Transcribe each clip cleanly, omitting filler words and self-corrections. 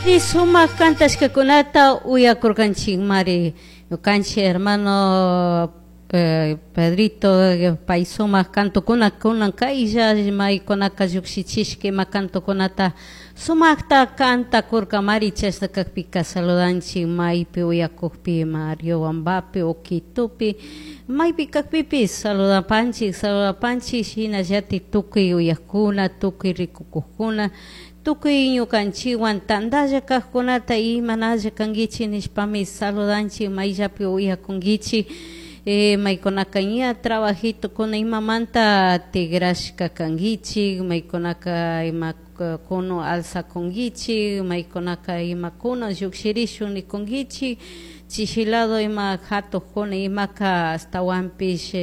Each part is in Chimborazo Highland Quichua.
Sumak kantashkakunata uyakurkanchikmari. Ñukanchik hermano Pedrito pay sumak kantukuna kunan kaylla maykunaka llukshichishka ima kantukunata sumakta kantakurkamari. Chashna kakpika saludanchik maypi uyakukpi, ima Riobambapi o Quitopi, maypi kakpipish saludapanchik, saludapanchik. Shinallatik tukuy uyakuna, tukuy rikukukkuna, tukuy ñukanchikwan tantalla kajkunata imanalla kankichik nishpami saludanchik. Mayllapi uyakunkichik, maykunaka ña trabajitokuna imamanta tigrashka kankichik, maykunaka ima kuno alzakunkichik, maykunaka imakuna llukshirishun nikunkichik, chishilado ima hatukuna imaka ashtawanpish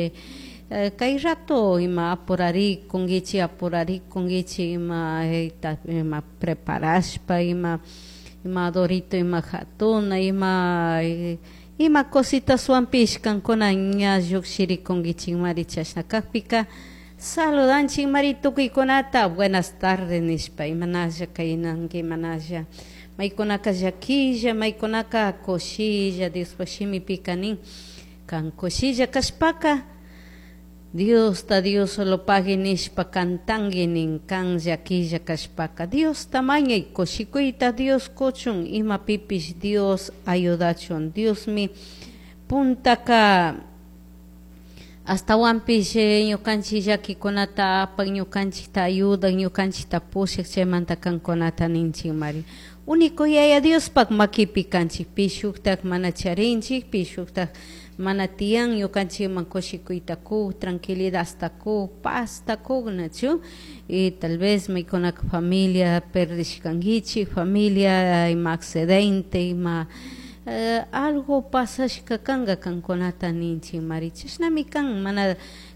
kay rato ima apurarikunkichik, apurarikunkichik ima ima preparashpa, ima ima adorito, ima hatuna, ima ima cositaswanpish kankuna ña llukshirikunkichikmari. Chashna kakpika saludanchikmari tukuykunata "buenas tardes" nishpa. Imanalla kaynanki, imanalla maykunaka llaquilla, maykunaka kushilla. Diospaj shimipika nin: kan kushilla kashpaka Diosta "Dios solo pagui" nishpa cantanki nin. Kan llaquilla kashpaka Diosta mañay kushikuyta Dios kuchun, imapipish Dios ayudachun. Diosmi puntaka ashtawanpish ñukanchik llakikunata apak, ñukanchikta ayudak, ñukanchikta pushak. Chaymanta kankunata ninchikmari: único Yaya Diospak makipi kanchik, pi shuktak mana charinchik, pi shuktak mana tiyan ñukanchikman kushikuyta kuk, tranquilidadta kuk, pazta kuk, nachu? Y tal vez maykunaka familia perdishkankichik, familia ima accidente, ima algo pasashka kanka, kankunata ninchikmari: chashnami kan, mana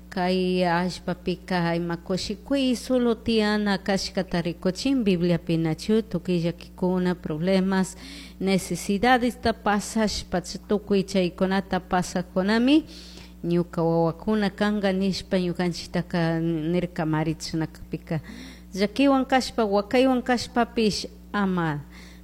kay allpapika ima kushikuy solo tiyana kashkata rikuchin Bibliapi, nachu? Tukuy llakikuna, problemas, necesidadesta pasashpa, tukuy chaykunata pasakkunami ñuka wawakuna kanka nishpa ñukanchiktaka nirkamari. Chashna kakpika llakiwan kashpa, wakaywan kashpapish ama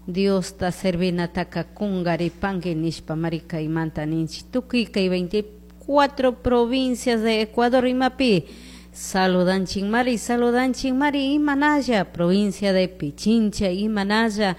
Diosta servinataka kunkaripanki nishpa mari kaymanta ninchik. Tukuy kay 24 provincias de Ecuador imapi saludanchikmari, saludanchikmari. Imanalla provincia de Pichincha, imanalla.